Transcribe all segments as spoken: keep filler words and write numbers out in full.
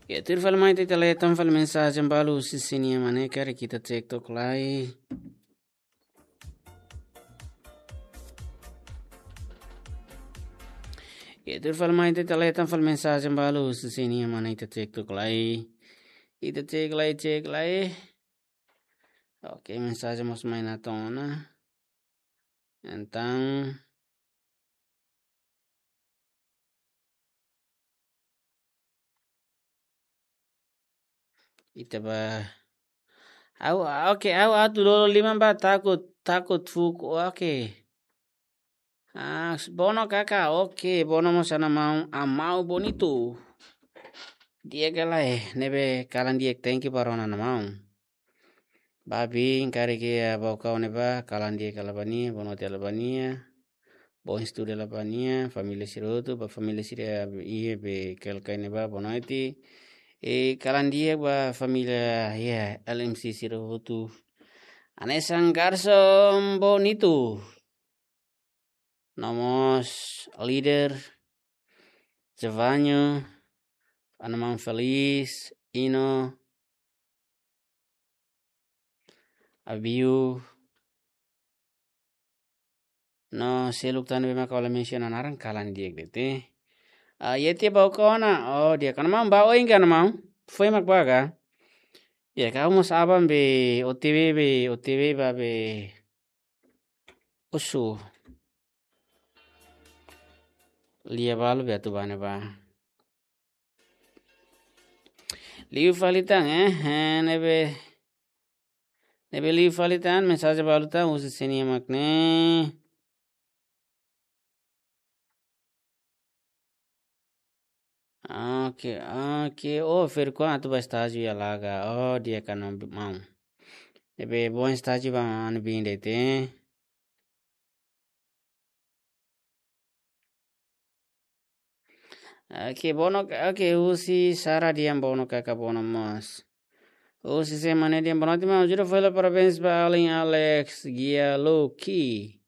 Ya, tuir fali mai ita leta fali mensajen balu husi sira-nia mane karik ita cek tok lai. Ya, tuir fali mai ita leta fali mensajen balu husi sira-nia mane ita cek tok lai. Ita cek lai, cek lai. Oke, mensajen mós mai ona. Entaun, ita ba. Au, oke, au atu dolo liman ba takut, takut fuuk, oke. Ah, Bono kaka, oke, Bono mós ana maun, Amau Bonito. Di'ak ka lae, ne'ebé kalan di'ak, thank you ba rona ana maun. Ba biin karik iha Baucau ne'ebá, kalan di'ak hela ba nia, bonoite hela ba nia, bom estudu hela ba nia, família sira hotu, ba família sira iha be Quelcai ne'ebá, bonoite. E kalan di'ak ba família iha L M C sira hotu. Hanesan Garson Bonito. No mós líder, Jevanho, ana maun Felis, Ino, Abiu, no seluk tan be maka ha'u la mensiona naran kalan di'ak de'it. Ah, iha tiha Baucau ona, oh, di'ak ka ana maun ba oin ka ana maun, foin mak ba ka. Ya, ha'u mós aban be O T W be, O T W ba be. Osu. Lia balu be atu ba ne'ebá. Liu fali tan, eh, eh, ne'ebé. Ne'ebé liu fali tan, mensajen balu tan, husi sira-nia mak ne'e. Oke, oke. Oh, Ferkuan atu ba estájiu iha Laga. Oh, di'ak ka ana maun. Ne'ebé bom estájiu ba ana biin de'it. Oke, Bono, oke, husi Sara dehan Bono kaka Bono mós. Husi sira mane dehan bonoite maun, juro fali parabéns ba alin Alex, Gia, Loki.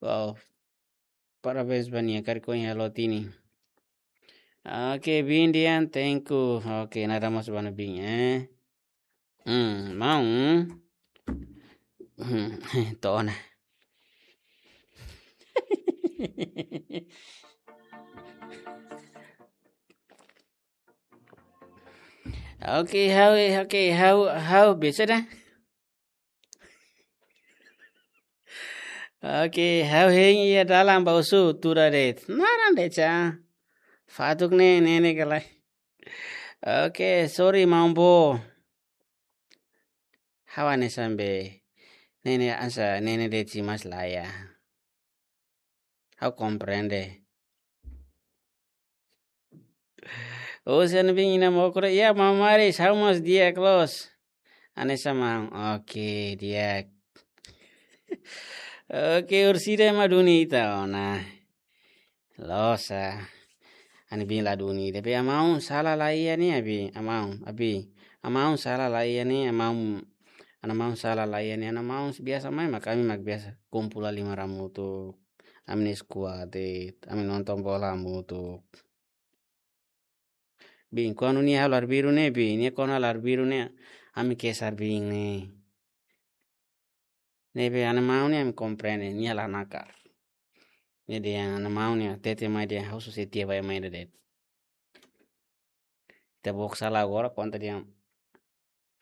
Wow. Parabéns ba nia, karik ohin halo tiha ona. Oke, biin dehan, thank you. Oke, nada mós ba ana biin, eh. Hmm, maun. Hmm, to'o ona. Oke, ha'u, oke, ha'u, ha'u, bisa dah. Oke, ha'u hein iha dalan ba osu tura de'it. Naran de'it sa. Fatuk ne'e, ne'e, ne'e ka lae. Oke, sorry, maun boot. Ha'u hanesan be. Ne'e, ne'e, hanesan, ne'e, ne'e de'it si mas lae. Ha'u komprende. Oh, husi ana biin ina mokro. Ya, maun Maris, ha'u mós di'ak loos. Hanesan maun. Oke, di'ak. Oke, orsida ema duni ita ona. Loos, ah. Ana biin la duni. Tapi ana maun sala la iha ne'e, abi. Ana maun, abi. Ana maun sala la iha ne'e, ana maun, ana maun sala la iha ne'e, ana maun biasa mai mak ami mak biasa kumpul la lima ramutuk. Ami-nia skuad, ami nonton bola hamutuk. Biin, kuandu nia halo arbiru ne'e, biin, nia kuandu halo arbiru ne'e, ami ke'es arbiin ne'e. Ne'ebé ana maun ne'e ami komprende, nia la nakar. Ne'e dehan ana maun ne'e, hatete mai dehan ha'u susar tiha ba ema ida de'it. Ita book sala agora, konta dehan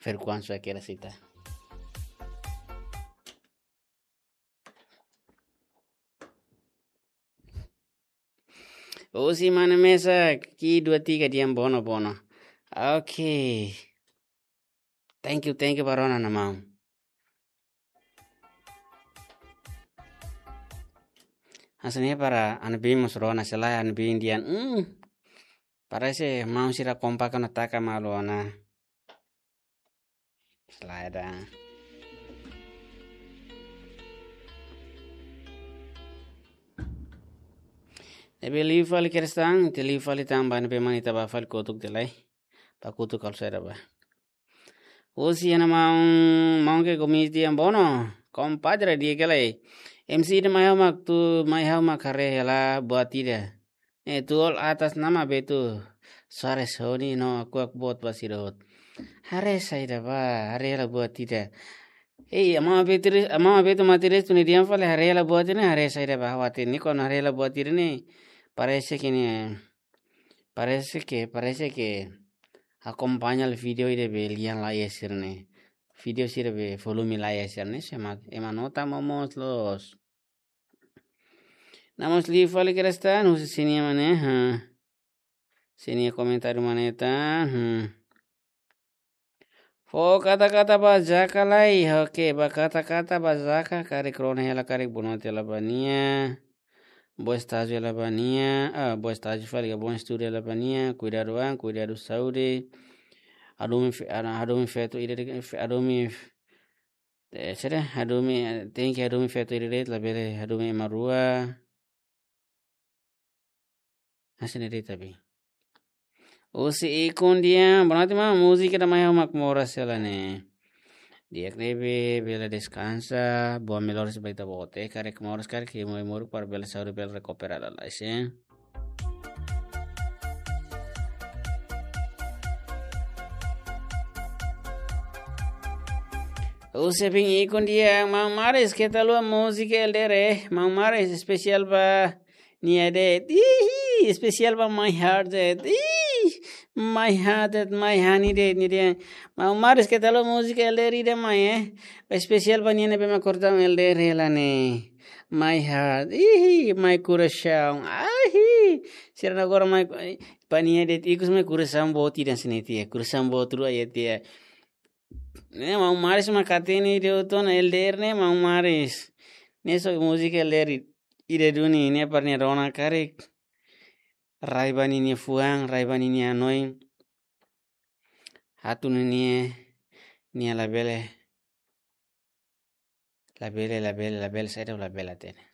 Ferkuan sua kira sita. Husi mana mesa, ki dua tiga dehan Bono, Bono. Oke. Thank you, thank you ba rona ana maun. Hanesan ne'e para ana biin mós rona, se lae ana biin dehan. Hmm. Parese maun sira kompak ona taka malu ona. Slide. Ne'ebé liu fali kedas tan, ita liu fali tan ba ne'ebé mak ita ba fali kotuk tiha lai. Ba kotuk halo saida ba. Husi ana maun, maun ke komiti yang bono. Kompadre di'ak ka lae. M C ida mai ha'u mak tu, mai ha'u mak haree hela buat ida. Eh, tuul atas nama betu. Suara Sony no aku aku buat basi dot. Haree saida ba, haree hela buat ida. Eh, ama betu, ama betu mati res tuni diam fali haree hela buat ne'e, haree saida ba hawati ne'e, kuandu haree hela buat ida ne'e. Parese ke ne'e, parese ke, parese ke akompaña vídeo ida be lian la'o sira-ne'e. Vídeo sira be volume la'o sira-ne'e, sema, ema nota momoos loos. Namun liu fali kedas tan, husi sini mana, ha. Sini komentáriu mana tan, hmm. Fó kata-kata ba Jaka lai, oke, ba kata-kata ba Jaka, karik rona hela karik boa noite hela ba nia. Boa estájiu hela ba nia, ah, boa estájiu fali ka bom estudu hela ba nia, kuidadu an, kuidadu saúde. Hadomi fe-, ah, hadomi feto ida de'it, fe-, hadomi, eh, sira, hadomi, eh, tenke hadomi feto ida de'it, labele hadomi ema rua. Hanesan ne'e de'it abi. Husi Ikun Dian, boa noite maun, múzika ida mai ha'u mak moras hela ne'e. Di'ak ne'ebé, bele deskansa, boa melhoras ba ita-boot, karik moras, karik hemu hemu para bele saúde bele rekupera lalais, eh. Husi Bin Ikun Dian, maun Maris, keta haluha múzika L D R, eh. Maun Maris, espesiál ba nia de'it. Ihi, espesiál ba My Heart de'it. Ihi, My Heart de'it, My Honey de'it, nia dehan. Maun Maris, keta haluha múzika L D R ida mai, eh. Espesiál ba nia ne'ebé mak kortaun L D R hela ne'e. My Heart. Ihi, My Coração. Ahi. Sira agora mai, ba nia de'it ikus mai coração boot ida hanesan ne'e tiha. Coração boot rua iha tiha. Ne'e Maun Maris mak hatene ida hotu ona L D R ne'e Maun Maris. Ne'e só múzika L D R i-, ida duni ne'e para nia rona karik. Rai ba ninia fuan, rai ba ninia hanoin. Hatún ne'e nia, nia labele. Labele, labele, labele, saida labele hatene.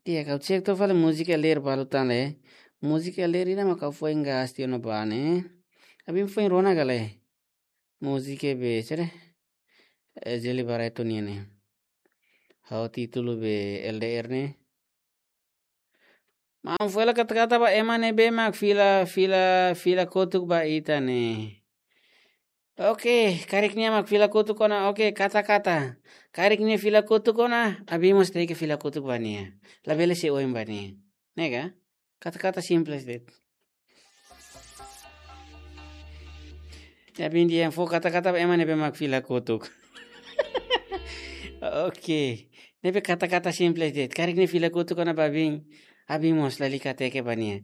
Di'ak, ha'u cek to'o fali múzika L D R balu tan le. Múzika L D R ida mak ha'u foin gasti ona ba ne'e. Abin foin rona ka lae. Múzika be, sere. Eh, Jeli Barreto nian ne'e. Ha'u títulu be L D R ne'e. Maun, fó hela kata-kata ba ema ne'ebé mak fila, fila, fila kotuk ba ita ne'e. Oke, karik nia mak fila kotuk ona, oke, kata-kata. Karik nia fila kotuk ona, abin mós tenke fila kotuk ba nia. Labele sei oin ba nia. Ne'e ka? Kata-kata simples de'it. Ya, abin dehan fó kata-kata ba ema ne'ebé mak fila kotuk. Oke. Ne'ebé kata-kata simples de'it. Karik nia fila kotuk ona ba abin. Abin mós lalika teke ba nia.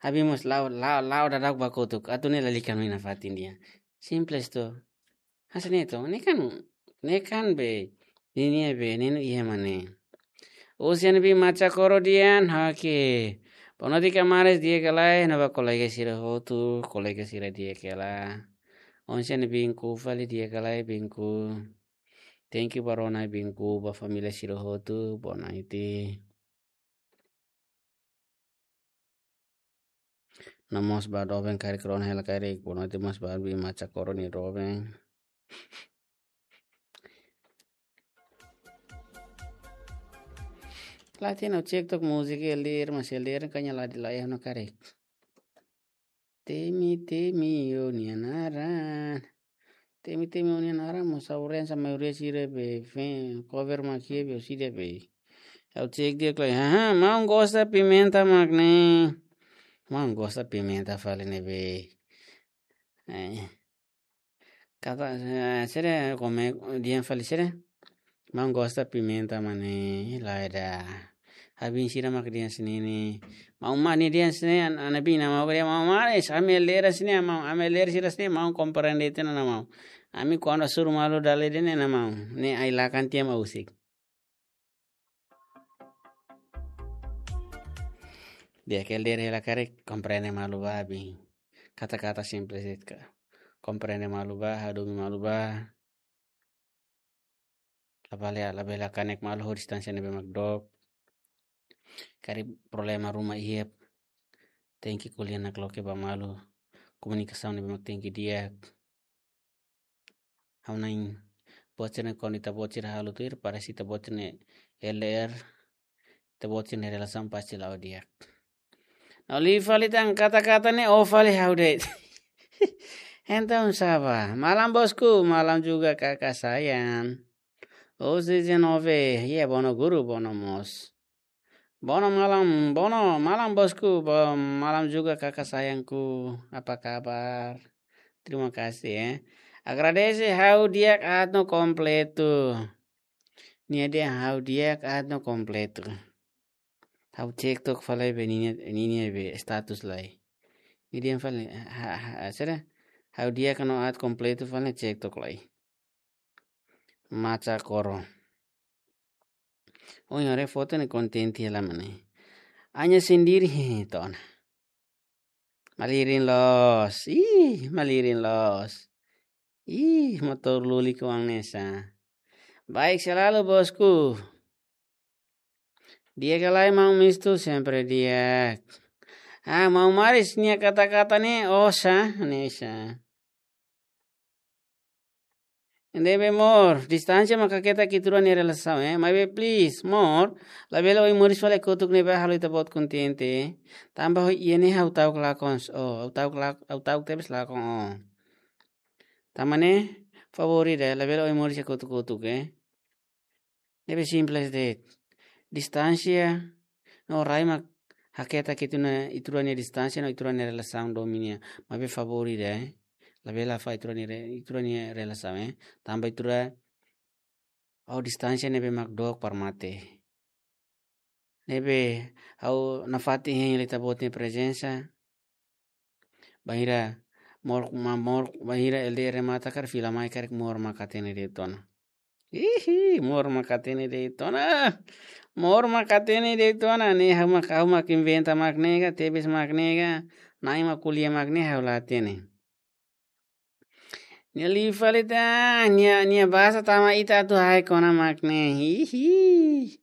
Abin mós la'o, la'o, la'o daudauk ba kotuk. Atu ne'e lalika hanoin nafatin dehan. Simples to. Hanesan ne'e to. Ne'e kan, ne'e kan be. Ne'e nia be, ne'e no iha mane. Husi Bin Macha Koro dehan, oke. Boa noite ka Maris, di'ak ka lae, no ba kolega sira hotu, kolega sira di'ak ka lae. Husi Bin Ku fali, di'ak ka lae Bin Ku. Thank you ba rona Bin Ku, ba família sira hotu, boa noite. No mós ba doben karik rona hela karik, boa noite mós ba Bin Macha Koro nia doben. Lae, ha'u cek to'ok múzika L D R, mas L D R kan nia la di lae no karik. Temi, temi, ó-nia naran. Temi, temi, ó-nia naran, mós ha'u rona hanesan maioria sira be, fe-, cover mak iha be, ó sira be. Ha'u cek di'ak ka lae. Haha, maun gosta pimenta mak ne'e. Maun gosta pimenta fali ne'e be. Eh. Kata, eh, sira kome, dehan fali sira. Maun gosta pimenta mane, lae ida. Abin sira mak dehan hanesan ne'e. Maun mane dehan hanesan ne'e, an-, ana bin nia maun dehan, maun mane, ami L D R hanesan ne'e, maun, ami L D R sira hanesan ne'e, maun komprende tiha ona maun. Ami kuandu hasoru malu dala ida ne'e ona maun. Ne'e ai-lakan tiha mak husik. Di'ak ka L D R hela karik komprende malu ba abin. Kata-kata simples de'it ka. Komprende malu ba, hadomi malu ba. Labele, labele kanek malu ho distánsia ne'ebé mak dook. Karik problema ruma iha. Tenke ko'alia nakloke ba malu. Komunikasaun ne'ebé mak tenke di'ak. Ha'u hanoin buat sira-ne'e kuandu ita-boot sira halo tuir, parese ita-boot sira-ne'e L D R. ita-boot sira-nia relasaun pasti la'o di'ak. No liu fali tan kata-kata ne'e, ó fali ha'u de'it. Entaun sá bá? Malam bosku, malam juga kakak sayang. Hoje dezenove, ya bono guru, bono mós. Bono malam, bono malam bosku, bo-, malam juga kakak sayangku. Apa kabar? Terima kasih ya. Agradese ha'u di'ak aat no kompletu. Nia dehan ha'u di'ak aat no kompletu. Ha'u cek tok fali be ninia, ninia be status lai. Nia dehan fali, ha, ha, ha, saida? Ha'u di'ak no aat kompletu fali cek tok lai. Macha koro. Ohin haree foto ne'e kontente hela mak ne'e. Hanya sendiri, he, he, to'o ona. Malirin loos. Ih, malirin loos. Ih, motór lulik oan ne'e sá. Baik selalu, bosku. Di'ak ka lae, maun Mistu? Sempre di'ak. Ah, maun Maris nia kata-kata ne'e, ó sá, ne'e sá. Ne'ebé amor, distánsia mak haketak ita-rua nia relasaun, eh. Maibé please, amor, labele ohin moris fali kotuk ne'ebé halo ita-boot kontente. Tanba ho iha ne'e ha'u ta'uk lakon, oh, ha'u ta'uk lak-, ha'u ta'uk tebes lakon, oh. Tanba ne'e, favór ida, labele ohin moris kotuk-kotuk, eh. Ne'ebé simples de'it. Distánsia no rai mak haketak ita-nia, ita-rua nia distánsia no ita-rua nia relasaun domin nian. Maibé favór ida, eh. Labele hafahe ita-rua nia re-, ita-rua nia relasaun, eh. Tanba ita-rua, ha'u distánsia ne'ebé mak dook para mate. Ne'ebé ha'u nafatin hein hela ita-boot nia prezensa. Bainhira amor, ma-, amor, bainhira L D R mata karik fila mai karik amor mak hatene de'it ona. Ihi, amor mak hatene de'it ona. Amor mak hatene de'it ona. Ne'e ha'u mak, ha'u mak inventa mak ne'e ka, tebes mak ne'e ka. Na'in mak ko'alia mak ne'e ha'u la hatene. Nia liu fali tan, nia, nia basa tama ita atu haik ona mak ne'e. Hihi.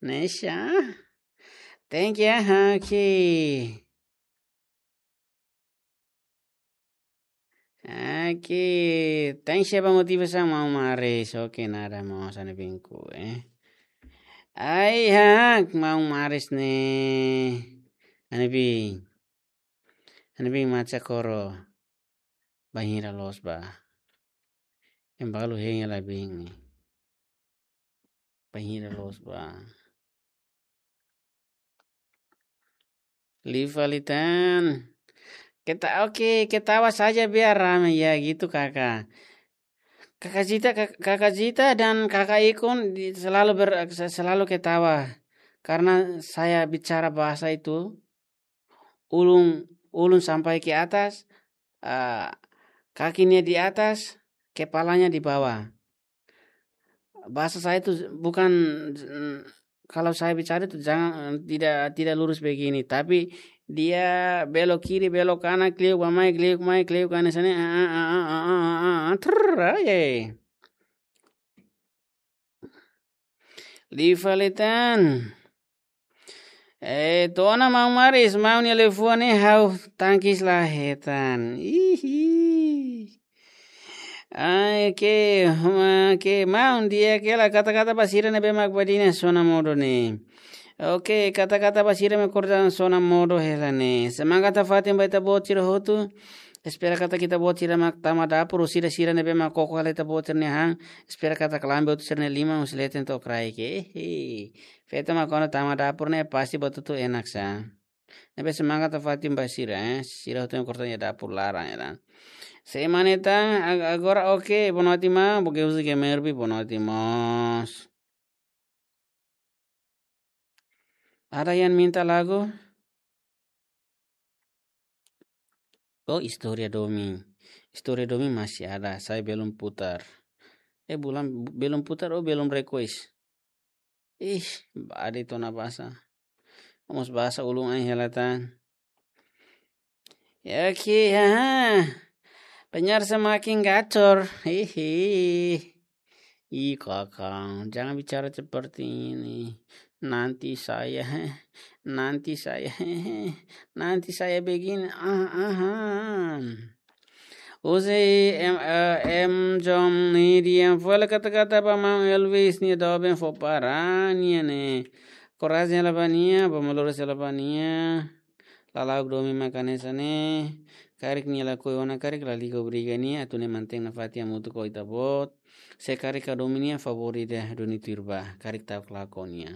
Ne'e sá. Thank you, Haki. Haki. Thank you ba motivasaun, maun Maris. Oke, nada, maun, hanesan ne'e binku, eh. Ai, hak, maun Maris ne'e. Hanesan ne'e bin. Hanesan ne'e bin macha koro. Bainhira loos bá. Ema balu hein hela bin. Bainhira loos bá. Liu fali tan. Keta-, oke, ketawa saja biar ramai ya gitu, Kakak. Kakak Zita, Kak-, Kakak Zita dan Kakak Ikun di-, selalu ber-, se-, selalu ketawa. Karena saya bicara bahasa itu, ulun, ulun sampai ke atas, ah, kakinya di atas, kepalanya di bawah. Bahasa saya itu bukan, mm, kalau saya bicara itu jangan, tidak, tidak lurus begini, tapi dia belok kiri, belok kanan, kliuk ba mai, kliuk mai, kliuk kanan sana, ah, ah, ah, trrr, ah, ya. Liu fali tan. Eh, to'o ona maun Maris, maun nia liafuan ne'e ha'u tangkis la hetan. Ihi. Ai, oke, ma-, oke, maun di'ak hela kata-kata ba sira ne'ebé mak badinas ona modo ne'e. Oke, kata-kata ba sira ne'ebé korta ona modo hela ne'e. Semangat nafatin ba ita-boot sira hotu. Espera katak ita-boot sira mak tama dapur, sira-sira ne'ebé mak koko hela ita-boot sira-nia han. Espera katak lambe hotu sira-nia liman husi leten to'o kraik. Ehe. Feto mak kuandu tama dapur ne'e pasti buat hotu enak sá. Ne'ebé semangat nafatin ba sira, eh. Sira hotu yang korta iha dapur laran, ya kan. Semana tan, ag-, agora oke, boa noite, maun, porque uzi ke merbi, boa noite, mós. Ada yang minta lagu? Oh, istória domin. Istória domin masih ada, saya belum putar. Eh, bulan, belum putar, oh, belum request. Ih, badi tona basa. Mós basa ulun ain hela tan. Ya, oke, ha. Penyiar semakin gacor. Hihi. Ih, Kakak, jangan bicara seperti ini. Nanti saya, nanti saya, nanti saya begini. Ah, ah, ah. Uzi em, eh, em jom ni dia fole kata-kata ba maun Elvis nia doben fó para nia ne'e. korajen hela ba nia, ba maloros hela ba nia. Lala'ok domin mak hanesan ne'e, karik nia lakohi ona, karik lalika obriga nia, atu nia mantein nafatin hamutuk ho ita-boot. Se karik la domin nia, favór ida duni tuir bá, karik ta'uk lakohi nia.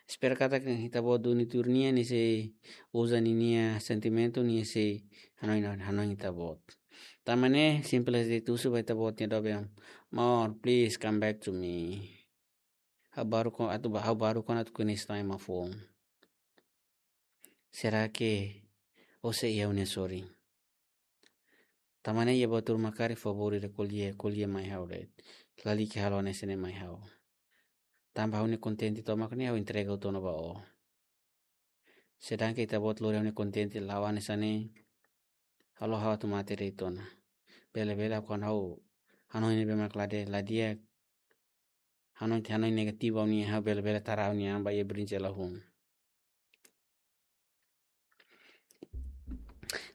Espera katak ita-boot duni tuir nia, nia sei uza ninia sentimentu, nia sei hanoin, hanoin ita-boot. Tanba ne'e, simples de'it, husu ba ita-boot nia doben: Amor, please come back to me. Ha'u baruk ona atu ba, ha'u baruk ona atu koñese tan ema foun. Será que ó sei iha ha'u-nia sorin? Tanba ne'e iha buat ruma karik favór ida ko'alia, ko'alia mai ha'u de'it. Lalika halo hanesan ne'e mai ha'u. Tanba ha'u-nia kontente tomak ne'e ha'u entrega hotu ona ba ó. Sedangkan ita-boot lori ha'u-nia kontente la'o hanesan ne'e, halo ha'u atu mate de'it ona. Bele-bele ha'u kuandu ha'u hanoin ne'ebé mak la di'ak, la di'ak, hanoin, hanoin negativu ha'u-nia an, ha'u bele-bele tara ha'u-nia an ba iha brinjela hun.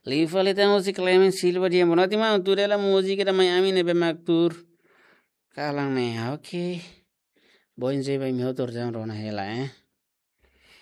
Liu fali tan husi Clement Silva, di'ak, boa noite maun, tuur hela múzika ida mai ami ne'ebé mak tuur kalan ne'e. Ah, oke. Boin zeba imi hotu atu rona hela, eh.